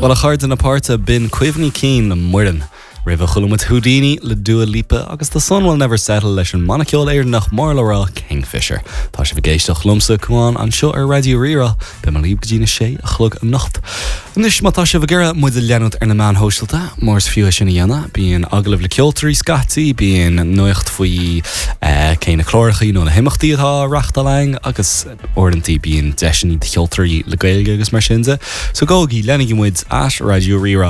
Bhuel, a chairde na páirte, b'in Cuimhní Cinn le Muireann. Roimhe chuala muid Houdini le Dua Lipa agus The Sun Will Never Settle leis an mbanna ceoil Éireannach mór le rá Kingfisher. Tá sibh ag éisteacht liomsa, Cuán, anseo ar Raidió Rí-Rá. Beidh mé libh go dtí na sé a chlog anocht. Anois, má tá sibh ag iarraidh muid a leanúint ar na meáin shóisialta, mar is fiú é sin a dhéanamh, bíonn agallaimh le ceoltóirí scaití, bíonn nuacht faoi cé na clárachaí nó na himeachtaí atá á reachtáil againn agus uaireanta bíonn deiseanna do cheoltóirí le Gaeilge agus mar sin de. So gabhaigí, leanaigí muid at Raidió Rí-Rá.